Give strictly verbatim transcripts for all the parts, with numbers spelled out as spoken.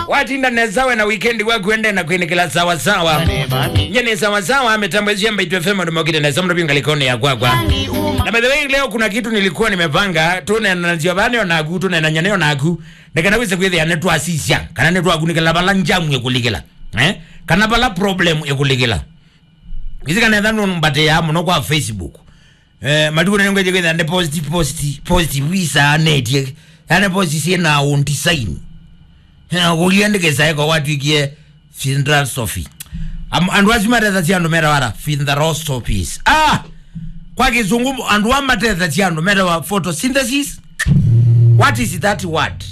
Watinda nesa we na weekend waku ende na kwĩnĩkĩla sawa sawa. Nye nĩ sawa sawa, mĩtambo ĩsu ya Mbaitu F M andũ mokĩte nesa mũno vyũ ngalĩkonĩ ya kwakwa. Na by the way, leo kuna kitu nilikuwa nimepanga, tũneenanasya vaa nĩ onaku, tũneenany'a nĩ onaku. Nĩ kana wĩse kwĩthĩa nĩtwasisya, kana nĩtwakunĩkĩla vala njamu ĩkũlikĩla. Eh? Kana vala problem ĩkũlikĩla. Isi kana etha nũmbatĩaa mũno kwa Facebook. Eh, matukũ nĩ ngwĩtye kwĩthĩa nĩ post, post, post wisaanĩtye. Yaani post syĩ na own design. Eh, kũlia ndĩkĩsaĩko watwĩkie philosophy. Am-, andũ asu matethasya andũ metawa ata? Philosophies. Ah! Kwa kĩsũngũ, andũ a matethasya andũ metawa photosynthesis. What is that word?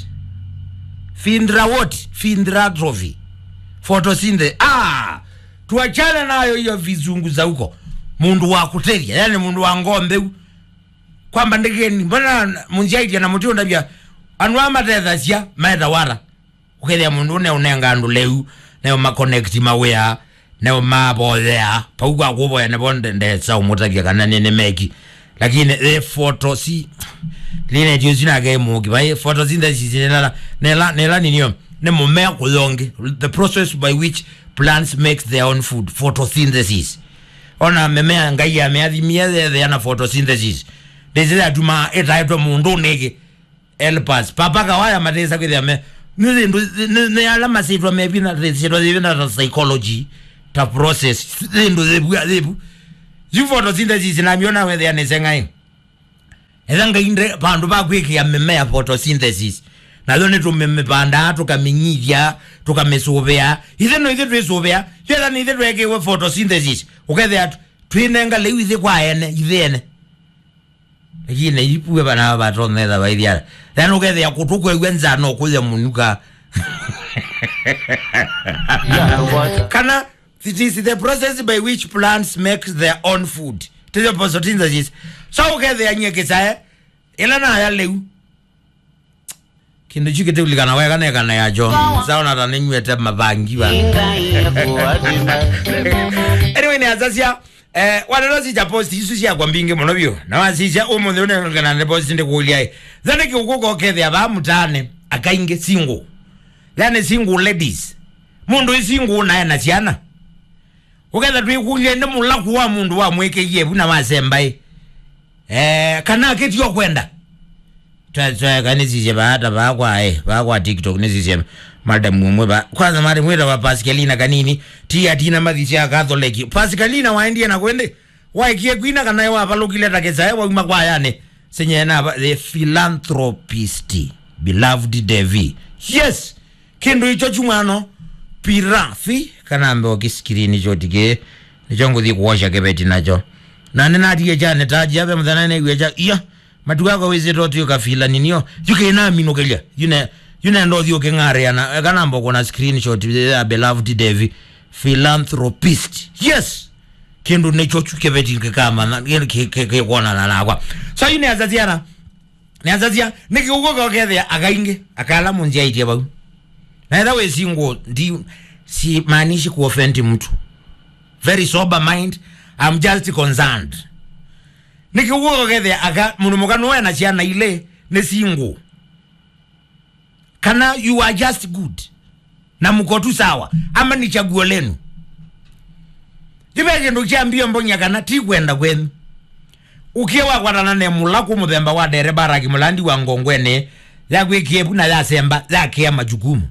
Philosophy. Philosophy. Photosynthesis. Ah! Tuachane nayo hiyo vizungu za huko. Mũndũ wa kũtethya, yani mũndũ wa ngombe u. Kwamba ndĩkĩni, mbona mũnzyaitya na mũtiũndavya, andũ a matethasya metawa ata? Ũkethĩa mũndũ ne ũnenga andũ lĩu, ne ũma connect mawĩa, ne ũmavoyea, pau kwa kũvoya nĩvo nde-, ndesa ũmũtavya kana nĩ, nĩ meki. Lakini the photo si, line tio sina ke mũki, vai photosynthesis nela, nela, nela ninio, nĩ mũmea kũyonge. The process by which plants makes their own food, photosynthesis. Ona mĩmea Ngai ameathimie yethea na photosynthesis. Ndĩsĩ yatuma ĩtaetwe mũndũ nĩkĩ. Helpers. Papa Kawaya matesa kwĩthĩa me. Nĩ thĩndũ, nĩ, nĩ ala masĩtwa mevina, thĩtwa thĩvina ta psychology, ta process. Thĩndũ thĩvu, thĩvu. Yu photosynthesis na miona wethĩa nĩ sengai. Etha Ngai nde vandũ va kwĩkĩa mĩmea photosynthesis. Nayo nĩ tũmĩmĩvandaa, tũkamĩnyithya, tũkamĩsũvĩa. Ithe no ithe twĩsũvĩa. Yetha nĩ ithe twekĩwe photosynthesis. Ũkethĩa twĩnenga lĩu ithe kwa ene, ithe ene. Lakini ipue vana vatonetha vaithiara. Then ũkethĩa kũtũ kwew'a nza no kũya mũnuka. Kana it is the process by which plants make their own food. Tĩyo photosynthesis. So ũkethĩa nyie kĩsae, ĩla naya lĩu. Kĩndũ kyu kĩtĩulikana weka nekana yacho. Saona ta nĩnyw'ĩte mavangi va. Anyway, nĩ asasya, eh, waneno sisya post isu syakwa mbingĩ mũno vyũ. Na wasisya ũmũnthĩ ũnengana nĩ post ndĩkũlya ĩ. Thane kĩũkũ kokethĩa vaa mũtaane, akaingĩ single. Yani single ladies. Mũndũ ĩ single nae na syana. Ũketha twĩkũlya nĩ mũlaku wa mũndũ wamwĩkĩie vu na wasembaĩ. Eh, kana akĩtio kwenda. Twa-, twa-, kanisisye vaa ta vaa kwa, eh, vaa kwa TikTok nisisye madam ũmwe vaa. Kwanza madam wĩtawa Pascalina Kanini, ti atina mathi sya Catholic. Pascalina waendie na kwende? Waekie kwina kana wavalũkile ta kĩsae wauma kwa yani? Senye na va-, the philanthropist, beloved Devi. Yes! Kĩndũ icho chumwano, pirafi, kana mbe o kĩsikirini kyo tikĩ, nĩkyo ngũthi kũosha kĩveti nakyo. Na nĩnatie kyane ta jia ve mũthenya nĩw'e kya, iya, matuku akwa wĩsĩte ũtw'ĩka fila ninio, yu kĩnaminũkĩlya, yu ne, yu nenda ũthi ũkĩng'arĩa na, kana mbe o kũona screenshot ya beloved Devi, philanthropist. Yes! Kĩndũ nĩkyo kyu kĩveti kĩkamanya, kĩ-, kĩ-, kĩ-, kĩkwonana nakwa. So, yu nĩ asasiana. Nĩasasya, nĩkĩ ũkw'o kokethĩa akaingĩ, akala mũnzyaĩtye vau. Na etha wĩ single, ndi, simaanishi kuoffend mtu. Very sober mind, I'm just concerned. Nĩkĩ ũkw'o kokethĩa aka, mũndũ mũka nũwe na syana ilĩ, nĩ single. Kana you are just good. Na mko tu sawa, ama ni chaguo lenu? Yu ve kĩndũ kya mbio mbonya kana ti kwenda kwenyu. Ũkie wakwatana ne mũlaku mũthemba wa dereba raki mũlandi wa ngongwene, yakwĩkie vu na yasemba, yakĩa majukumu.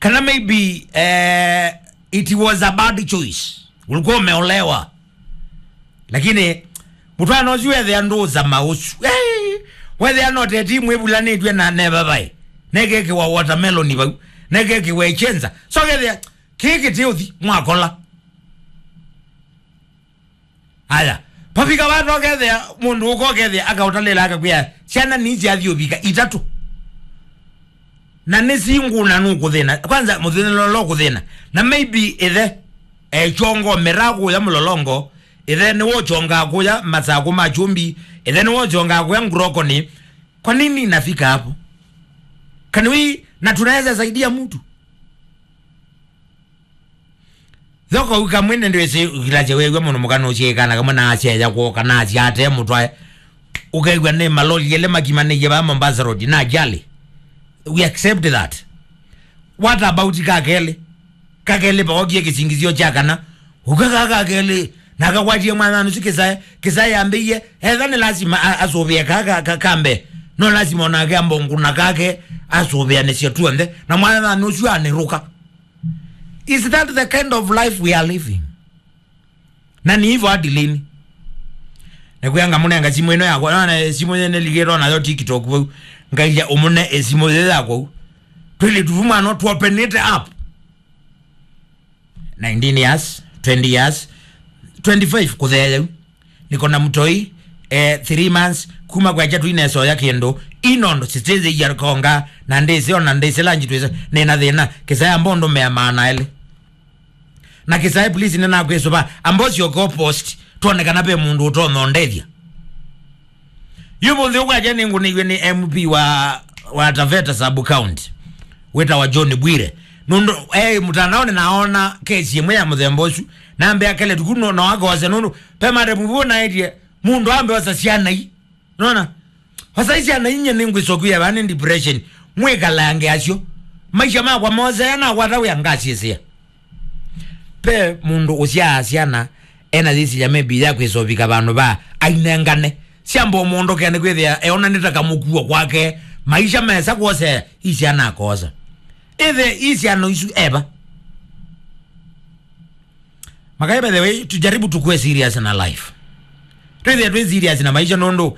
Kana maybe, eh, it was a bad choice. Ulikuwa umeolewa. Lakini mũtwaano ũsu wethĩa ndũũsa maũsu. Hey! Wethĩa no teti mwĩvulanĩtw'e na neva vai. Nekekĩwa watermelon vau. Nekekĩwa echenza. So kethĩa, kĩĩ kĩtĩ ũthi, mwakola. Aya, pavika vata ũkethĩa, mũndũ ũka ũkethĩa, akaũtalĩla akakwĩa, syana nĩ syathi ũvika itatũ. Na nĩ singuna nũkũthĩna. Kwanza, mũthĩna ũla ũkũthĩna. Na maybe ĩthe, e, chongo mera kũya mũlolongo, ĩthe nĩwe ũchongaa kũya masakũ ma chumbi, ĩthe nĩwe ũchongaa kũya ngurokoni. Kwa nini inafika hapo? Can we, na tunaweza saidia mtu? Thoko ukamwene ndwĩsĩ ũkilasya wew'a mũno mũkana ũsyĩkana kamwe na asya ya kuoka na asya ate mũtwae. Ũkew'a nĩ maloli ele makimanĩie vaa Mombasa Road na ajali. We accept that. What about ka kelĩ? Ka kelĩ paokie kĩsingizio kya kana ũka ka ka kelĩ na akakwatie mwana nusu kĩsae, kĩsae yambĩie, etha nĩ lasima a- asũvĩa ka- ka- ka- kambe. No lasima onake ambonguna kake asũvĩanĩsye tuonthe na mwana nusu anĩrũka. Is that the kind of life we are living? Na nĩ hivyo hadi lini? Nĩkwĩa ngamũnenga simũ ĩno yakwa, nona simũ yene ligĩtwo nayo TikTok vau. Ngaia ũmũne simũ yĩ yakwa u. Twĩlĩ tuvumano tuopenete up. Nineteen years, twenty years, twenty-five kũtheea yau. Niko na mtoi, eh, three months, kuma kwa chatu inesoya kĩndũ. Inondo siteze ya konga, na ndĩsĩ ona ndĩsĩ lanji twĩsĩ, nĩna thĩna, kĩsaya mbondo mea maana elĩ. Na kĩsaĩ, please, nĩnakwĩsũva. Ambosi oko post, twone kana ve mũndũ ũtonondethya. Yu mũnthĩ ũkwakya nĩngũnĩiwe nĩ M P wa, wa Taveta Sub County, wĩtawa John Bwire. Nũndũ e mũtandaonĩ naona kesi ĩmwe ya mũthemba ũsu, nambe akele tuku no, no akose nũndũ pe mate mũvuo naĩtye mũndũ ambe osa syana ii. Nona? Osa ii syana inyie nĩngwĩsokwia vaa nĩ depression. Mwĩkalange asyo. Maisha makwa mose nakwata wĩa ngasiĩsĩa. Pe mũndũ ũsyaa syana ena yĩsilya maybe ya kwĩsovika vandũ va ainengane. Syamba ũmũndũkea nĩ kwĩthĩa eona nĩ ta kamũkuo kwake. Maisha mesa kwose ii syana akosa. Ĩthe ii syana isu eva. Makai, by the way, tujaribu tukue serious na life. Twĩthĩa twĩ serious na maisha nũndũ